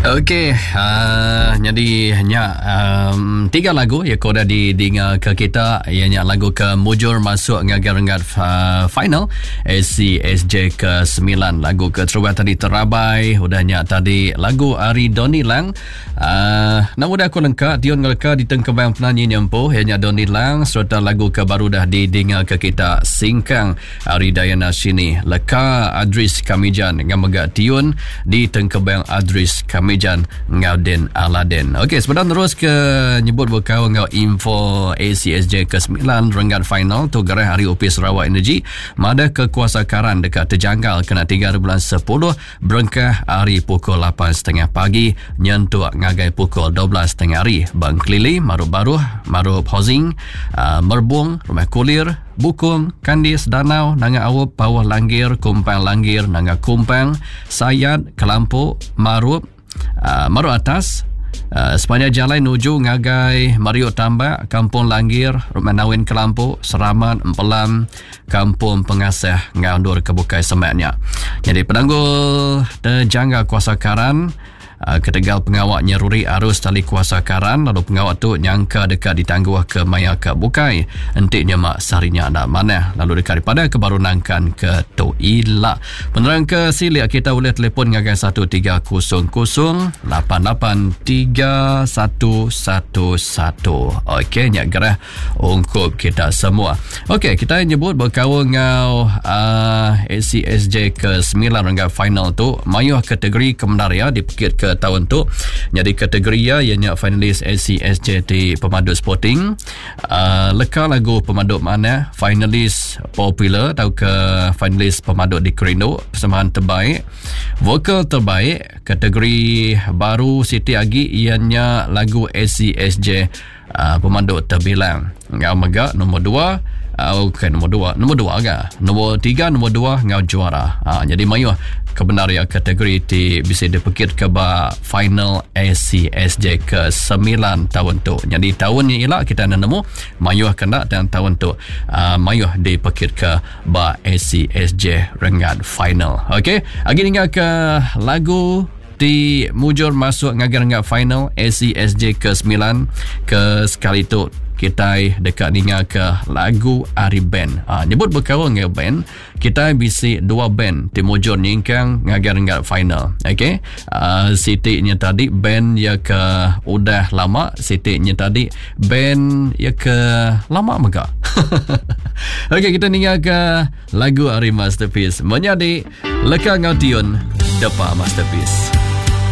Okey, uh, jadi nya um, tiga lagu ya ke udah didinga ke kita iya nya lagu ke mujur masuk ngagai renggat uh, final ACSJ ke 9 lagu ke terubah tadi terabai udah nya tadi lagu ari Donny Lang uh, nama udah aku lengka tiun ngeleka ditengkebang penanyi nyempuh iya nya Donny Lang sereta lagu ke baru dah didinga ke kita Singkang Ari Diana Sini, leka Adris Kamijan enggau mega tiun di tengkebang Adris Kamijan enggau Den Aladdin. Okey, sebedau nerus ke nyebut bekaul enggau info ACSJ ke 9 renggat final tu gerah ari Opis Sarawak Energy madah ke kuasa karan deka tejanggal kena 3 bulan 10 berengkah ari pukul 8.30 pagi nyentuk ngagai pukul 12.30 hari. Bang Kelili, Marup Baruh, Marup Housing, ah, Merbung, Rumah Kulir, Bukung, Kandis, Danau, Nanga Aup, Pauh Langgir, Kumpang Langgir, Nanga Kumpang, Sayat, Kelampu, Marup, uh, Marup Atas, uh, sepanjang jalai nuju ngagai Mariuk Tambak, Kampung Langgir, Rumah Nawin Kelampu, Seramat, Empelam, Kampung Pengasah enggau endur ke bukai semak nya. Jadi penanggul terjangga kuasa karan Ah, ketegal pengawa nyeruri arus tali kuasa karan lalu pengawa tu nyangka deka ditangguh ke maya ke bukai enti nyema sehari nya enda manah lalu deka dipadah ke baru nangkan ke tu ila. Penerang ke silik kita ulih telefon ngagai 1300 88 3111. Okey nya gerah ungkup kita semua. Okey, kita nyebut berkaul enggau uh, ACSJ ke-9 renggat final tu, mayuh kategori kebenar ya dipekit ke tahun tu. Jadi kategori ya ianya finalis ACSJ ti pemadu sporting, uh, leka lagu pemadu manah, finalis popular atau ke finalis pemadu dikerindu, persembahan terbaik, vokal terbaik, kategori baru siti agi ianya lagu ACSJ uh, pemandu terbilang. Ngau mega nombor dua, uh, okay, nombor dua, nombor dua ga. Nombor tiga, nombor dua ngau juara. Uh, jadi mayuh kebenar ya kategori ti bisa dipekit ke ba final ACSJ ke 9 tahun tu. Jadi tahun ni ila kita nemu mayuh kena dan tahun tu uh, mayuh dipekit ke ba ACSJ renggat final. Okey, agi ninggal ke lagu ti mujur masuk ngagai renggat final ACSJ ke-9 ke sekali tu kitai deka ninga ke lagu ari band. Ha, nyebut bekaul enggau band, kitai bisi dua band ti mujur nyingkang ngagai renggat final. Okey. Uh, siti nya tadi band ya ke udah lama, siti nya tadi band ya ke lama mega. Okey, kita ninga ke lagu ari Masterpiece. Menyadi Leka enggau tiun depa Masterpiece.